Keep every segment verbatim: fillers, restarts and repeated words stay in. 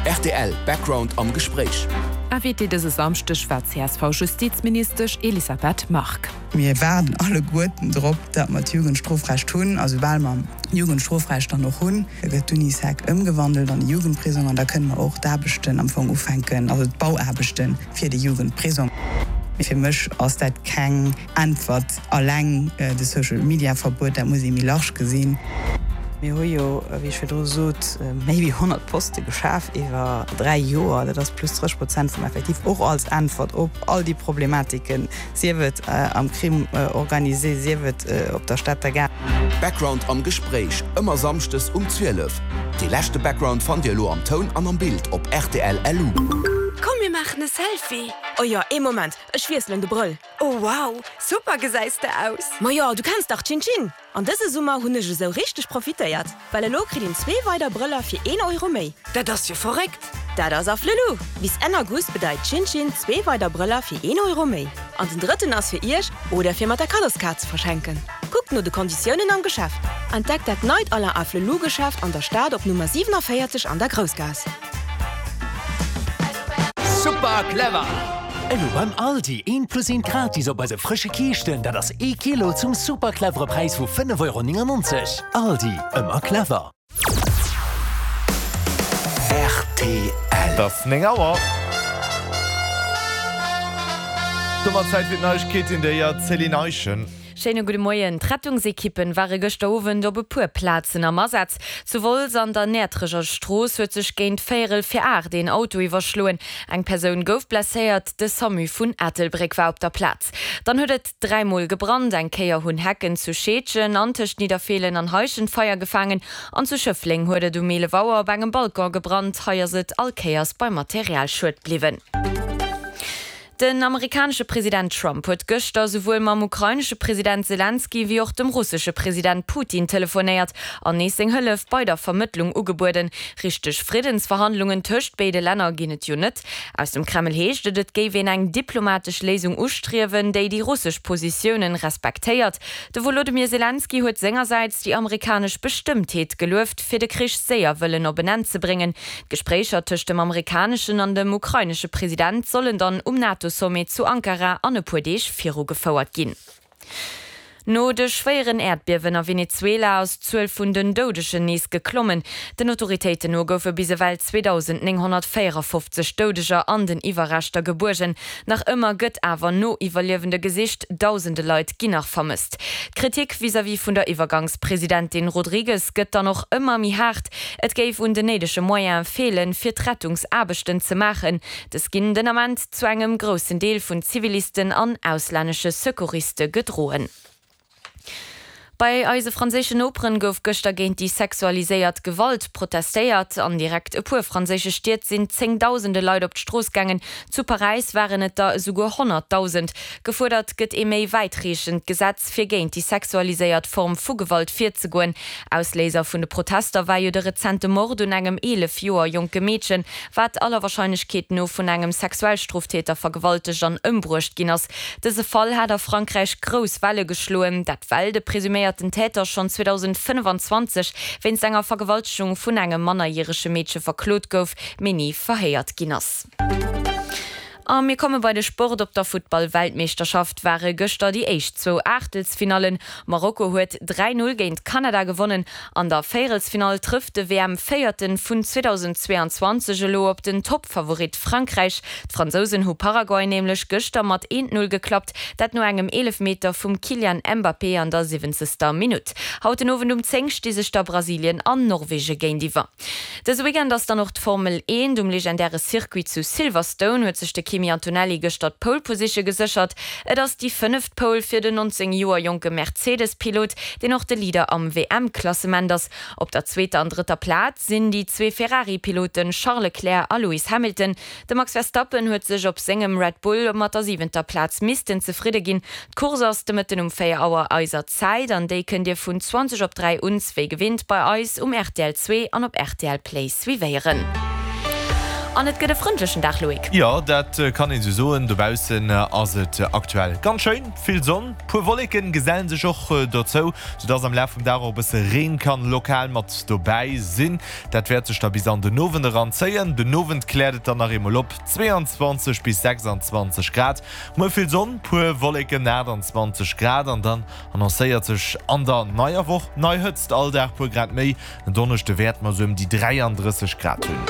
Rtl Background am Gespréich. Invitée dëse Samschdeg war d'CSV-Justizministesch Elisabeth Margue. Mir waarden alleguerten drop, datt mer d'Jugendstrofrecht hunn. A soubal mer d'Jugendstrofrecht dann och hunn, gëtt d'Unisec ëmgewandelt an e Jugendprisong an da kënne mer och d'Aarbechten am Fong ufänken, also d'Bauaarbechte fir de Jugendprisong. Fir mech ass dat keng Äntwert alleng, de Social Media Verbuet, dat muss ee méi large gesinn. Mir hu jo, wéi ech virdru sot, méi wéi honnert Poste geschaf iwwer dräi Joer. Dat ass plus drësseg Prozent vum Effektiv, och als Äntwert op all déi Problematiken, sief et am Crime organisé, sief et op der Stater Gare. Background am Gespréich, ëmmer samschdes um zwielef. Dee leschte Background fannt Dir elo am Toun an am Bild op rtl Lu. Komm mir maachen e Selfie! Oh jo, ee Moment, ech wiesselen de Brëll. Oh wow, super gesäis de aus! Majo, du kenns dach Chin Chin! An dëse Summer hunn ech esou richteg profitéiert, well elo kritt een zwee weider Brëller fir een Euro méi. Dat ass jo verréckt! Dat ass Afflelou! Bis Enn August bedeit Chin Chin zwee weider Brëller fir een Euro méi. An den drëtten ass fir iech oder fir mat der Kaddoskaart ze verschenken. Kuckt no de Konditiounen am Geschäft. Entdeckt dat neit Alain Afflelou Geschäft an der Stad op Nummer siewenenvéierzeg an der Groussgaass. Super clever! Elo beim Aldi eent plus eent gratis op eise frësche Kiischten, dat ass ee Kilo zum super clevere Präis vu fënnef Euro néngennonzeg. Aldi, ëmmer clever! Rtl. Et ass néng Auer. Domat Zäit fir d'Neiegkeeten, der Céline Eischen. Schéine gudde Moien. D'Rettungsekippen ware gëschter Owend op e puer Plazen am Asaz. Zu Wolz an der Näertrecher Strooss huet sech géint véierel vir aacht een Auto iwwerschloen. Eng Persoun gouf blesséiert, de Samu vun Ettelbréck war op der Plaz. Dann huet et dräi Mol gebrannt, eng Kéier hunn Hecken zu Scheedgen an tëscht Nidderfeelen an Heischent Feier gefaangen an zu Schëffleng huet et um eelef Auer op engem Balcon gebrannt. Hei ass et all Kéiers beim Materialschued bliwwen. Den amerikanesche President Trump huet gëschter souwuel mam ukrainesche President Selenskyj wéi och dem russesche President Putin telefonéiert an nees seng Hëllef bei der Vermëttlung ugebueden. Richteg Friddensverhandlungen tëscht béide Länner ginn et jo net. Aus dem Kreml heescht et, et géif een eng diplomatesch Léisung ustriewen, déi déi russesch Positiounen respektéiert. De Wolodymyr Selenskyj huet sengersäits déi amerikanesch Bestëmmtheet gelueft, fir de Krich séier wëllen op en Enn ze bréngen. D'Gespréicher tëscht dem amerikaneschen an dem ukrainesche President sollen dann um NATO-Sommet zu Ankara an e puer Deeg virugefouert ginn. No de schwéieren Äerdbiewen a Venezuela ass d'Zuel vun den Doudegen nees geklommen. Den Autoritéiten no goufe bis ewell zweedausendnénghonnertvéierafofzeg Doudeger an den Iwwerreschter gebuergen. Nach ëmmer gëtt awer no Iwwerliewende gesicht, dausende Leit ginn nach vermësst. D'Kritik vis-à-vis vun der Iwwergangspresidentin Rodriguez gëtt dann och ëmmer méi haart. Et géif un den néidege Moyene feelen, fir d'Rettungsaarbechten ze maachen. Dës ginn den Ament zu engem groussen Deel vun Zivilisten an auslännesche Secouriste gedroen. Bei eise franséischen Noperen gouf gëschter géint déi sexualiséiert Gewalt protestéiert. An direkt e puer franséische Stied sinn zéngdausende Leit op d'Strooss gaangen. Zu Paräis waren et der esouguer honnertdausend. Gefuerdert gëtt ee méi wäitreechend Gesetz, fir géint déi sexualiséiert Form vu Gewalt virzegoen. Ausléiser vun de Protester war jo de rezente Mord un engem eelef Joer jonke Meedchen, wat aller Warscheinlechkeet no vun engem Sexualstroftäter vergewaltegt an ëmbruecht ginn ass. Dëse Fall hat a Frankräich grouss Welle geschloen, dat well de presuméierten Täter schonn zweedausendfënnefanzwanzeg wéinst enger Vergewaltegung vun engem mannerjärege Meedche verklot gouf, mee ni verhéiert ginn ass. A mir komme bei de Sport. Op der Futtball-Weltmeeschterschaft ware gëschter déi éischt zwou Aachtelsfinallen. Marokko huet dräi Null géint Kanada gewonnen. An der Véierelsfinall trëfft de W M-Véierte vun zweedausendzweeanzwanzeg elo op den Toppfavorit Frankräich. D'Fransousen hu Paraguay nämlech gëschter mat eent Null geklappt, dat no engem Eelefmeter vum Kylian Mbappé an der siwwenzegster Minutt. Haut den Owend um zéng sti sech da Brasilien an Norwege géintiwwer. Dëse Weekend ass dann och d'Formel eent. Um legendäre Circuit zu Silverstone huet sech de Kimi Antonelli gëschter d'Pole Position geséchert. Et ass déi fënneft Pole fir den nonzéng Joer jonke Mercedes-Pilot, deen och de Leader am W M-Klassement ass. Op der zweeter an drëtter Plaz sinn déi zwee Ferrari-Piloten Charles Leclerc a Lewis Hamilton. De Max Verstappen huet sech op sengem Red Bull mat der siwenter Plaz missten zefridde ginn. D'Course ass de Mëtten um véier Auer eiser Zäit an déi kënnt Dir vun zwanzeg op dräi un wéi gewinnt bei eis um R T L zwee an op R T L Play suivéieren. An et gëtt e frëndlechen Dag, Loïc. Jo, dat kann een sou soen. Dobaussen ass et aktuell ganz schéin, vill Sonn, puer Wolleken gesellen sech och dozou, soudass am Laf vum Dag och e bësse Reen kann lokal mat dobäi sinn. Dat wäert sech da bis an den Owend eran zéien. Den Owend kläert et dann nach eemol op, zweiundzwanzeg bis sechsandzwanzeg Grad. Muer vill Sonn, puer Wolleken, aachtandzwanzeg Grad an dann annoncéiert sech an der neier Woch nei Hëtzt, all Dag puer Grad méi. En Donneschde wäerte mer sou ëm déi dräiandrësseg Grad hunn.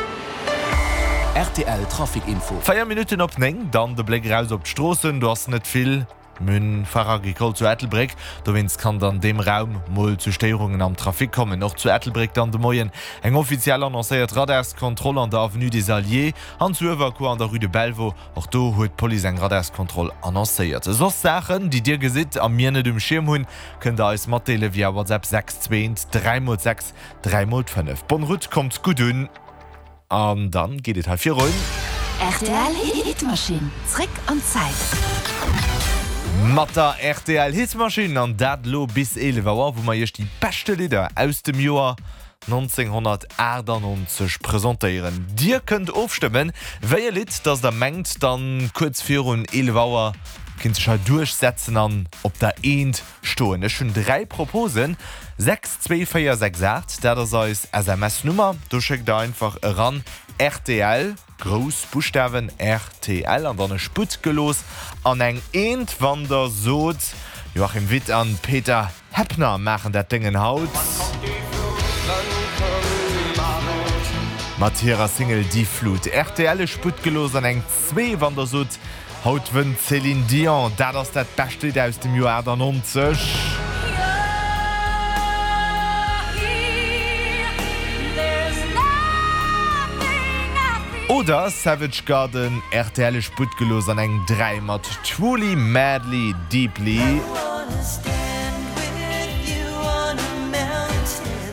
Rtl Trafic Info. Véier Minutten op néng, dann de Bléck eraus op d'Stroossen. Do ass net vill. Mir hunn Foire Agricole zu Ettelbréck, dowéinst kann et an deem Raum mol zu Stéierungen am Trafic kommen. Och zu Ettelbréck dann de Moien eng offiziell annoncéiert Radarskontroll an der Avenue des Alliés an zu Uewerkuer an der Rue de Belvaux. Och do huet d'Police eng Radarskontroll annoncéiert. Soss Saachen, déi Dir gesitt a mir net um Schierm hunn, kënnt der eis matdeele via WhatsApp sechs zwee eent dräi mol sechs dräi mol fënnef. Bonne route, kommt gutt un an dann geet et hei virun. Rtl Hitmaschinn, zréck an d'Zäit. Mat der rtl Hitmaschinn an dat elo bis eelef Auer, wou mer iech déi beschte Lidder aus dem Joer nonzénghonnertaachtannonzeg presentéieren. Dir kënnt ofstëmmen, wéi e Lidd dass der mengt dann kuerz virun eelef Auer kinnt sech hei duerchsetzen an op der Eent stoen. Ech hunn dräi Proposen, sechs zwee véier sechs aacht, dat ass eis S M S Nummer, do schéckt der einfach eran rtl, grouss Buschtawen rtl an dann e Sputt gelooss an eng Eent, wann der sot, Joachim Witt an Peter Heppner maachen dat Déngen haut. Mat hirer Single Die Flut. Rtl e Sputt gelooss an eng Zwee, wann der sot, Haut wënnt d'Céline Dion, dat ass dat bescht Lidd aus dem Joer achtannonzeg. Oder Savage Garden, rtl e Sputt gelooss an eng Dräi mat Truly Madly Deeply.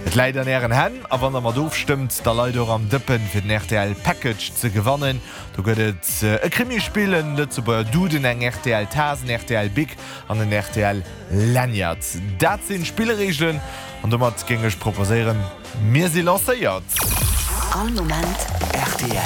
Et läit an ären Hänn a wann der mat ofstëmmt, da leit der och am Dëppen fir den rtl Package ze gewannen. Do gëtt et e Krimispill, en Lëtzebuerger Duden, eng rtl Taass, en rtl Bic an en rtl Lanyard. Dat sinn d'Spillreegelen an domat géing ech proposéieren, mir si lancéiert! All Moment rtl.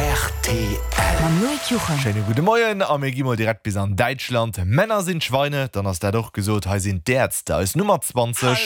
Rtl. Mam Loïc Juchem. Schéine gudde Moien a mir gi mol direkt bis an Däitschland. Männer sind Schweine, dann ass dat och gesot. Hei sinn d'Ärzte, eis Nummer zwanzeg.